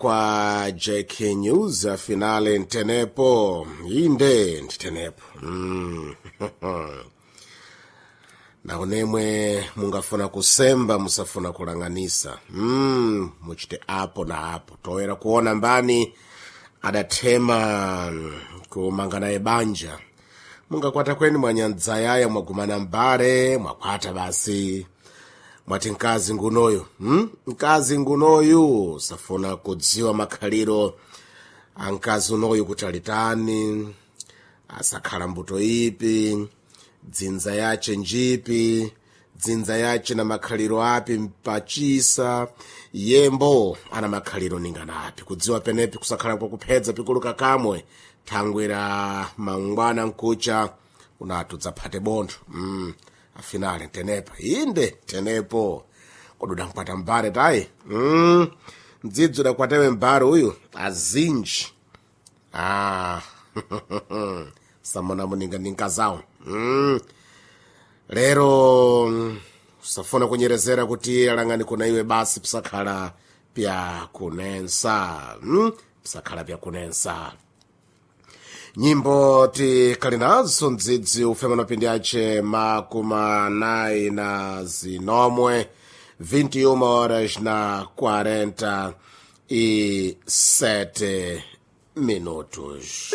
Kwa JK News finale ntenepo inde nditenepo. Naonemwe mungafuna kusemba musafuna kulang'anisa, muchite apo na apo toera kuona mbani adathema kumanga naye banja. Mungakwata kweni mwanyadzayaya mwagumana mbale mwakwata basi mwati mkazi ngunoyu, Mkazi ngunoyu safuna kudziwa makhaliro a mkazi unoyu kuti alitani, asakhala mbuto ipi, dzinza yace njipi, dzinza yace na makhaliro api mpachisa yembo ana makhaliro ningana api. Kudziwa penepi kusakhala kwakuphedza pikuluka kamwe thangwera mangwana nkucha unatudza phate bontho. Afinale tenepo inde tenepo koduda nkwata mbale tayi, mdzidzi udakwatewe mbale uyu azinji ah. Samona muninga ninkazawo. Lero usafuna kunyerezera kuti alang'ani kuna iwe basi pisakhala pya kunensa, Pisakhala pya kunensa. Nyimbo tikali nazo mdzidzi ufema mapindi ace 48 na zinomwe, 21 horas na 47 minutos.